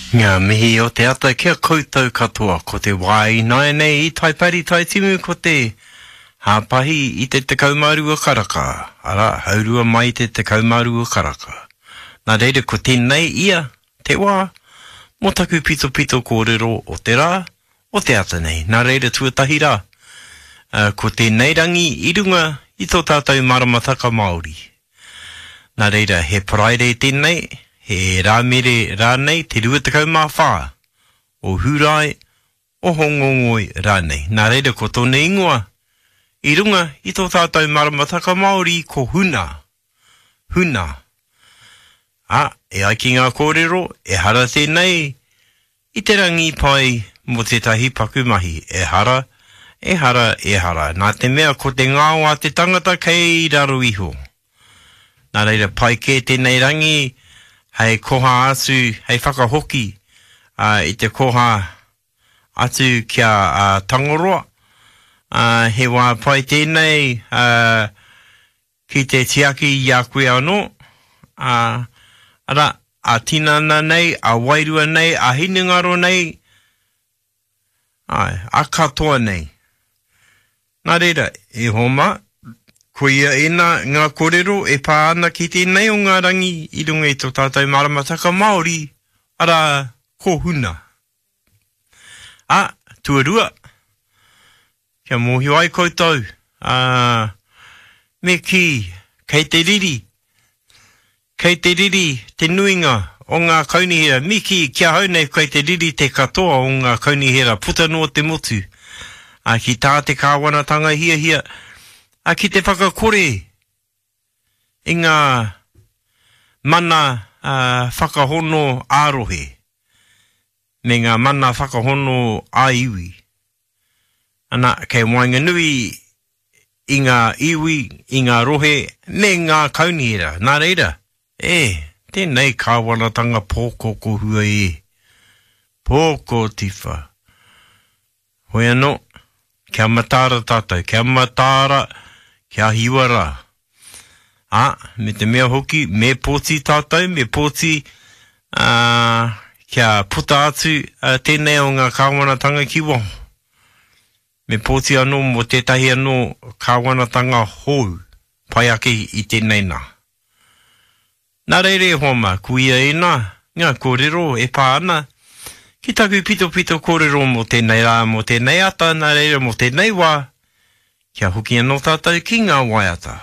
Ngā mihi o te ata ki a koutou katoa. Ko te wā ināianei i Taipari Taitimu ko te hāpahi i te 12 karaka, arā, haurua mai i te 12 karaka. Nā reira ko tēnei ia te wā mō taku pitopito kōrero o te rā, o te ata nei. Nā reira tuatahi rā, ko tēnei rangi i runga i tō tātou maramataka Māori. Nā reira, he Paraire tēnei, he Rāmere rānei, te 24 o Hūrae, o Hōngongoi rānei. Nā reira, ko tōna ingoa i runga i tō tātou maramataka Māori ko Huna. Huna. Ā, e ai ki ngā kōrero, ehara tēnei I te rangi pai mō tētahi paku mahi, ehara, ehara, ehara, nā te mea ko te ngao a te tangata kei raro iho. Nā reira pai kē tēnei rangi hei koha atu, hei whakahoki i te koha atu ki a Tangoroa. He wā pai tēnei ki te tiaki i a koe anō, ā, arā, ā-tinana nei, ā-wairua nei, ā-hinengaro nei, āe, ā-katoa nei. Nā reira, e hoa mā, koia ēnā ngā kōrero e pā ana ki tēnei o ngā rangi i runga i tō tātou maramataka Māori, arā, ko Huna. Ā, tuarua, kia mōhio ai koutou, ā, me kī, kei te riri, kei te riri te nuinga o ngā kaunihera, me kī, ki ahau nei kei te riri te katoa o ngā kaunihera puta noa te motu, ā, ki tā te kāwanatanga hiahia, ā, ki te whakakore i ngā mana whakahono ā-rohe me ngā mana whakahono ā-iwi. Ana, kei waenganui i ngā iwi, i ngā rohe me ngā kaunihera. Nā reira, e, tēnei kāwanatanga pōkokohua e. Pōkotiwha. Hoi anō, kia mataara tātou, kia mataara, kia hiwa rā. Ā, me te mea hoki, me pōti tātou, me pōti, ā, kia puta atu tēnei o ngā kāwanatanga ki waho. Me pōti anō mō tētahi anō kāwanatanga hou, pai ake i tēnei nā. Nā reira e hoa mā, koia ēnā ngā kōrero e pā ana ki taku pitopito kōrero mō tēnei rā, mō tēnei ata, nā reira mō tēnei wā, kia hoki anō tātou ki ngā waiata.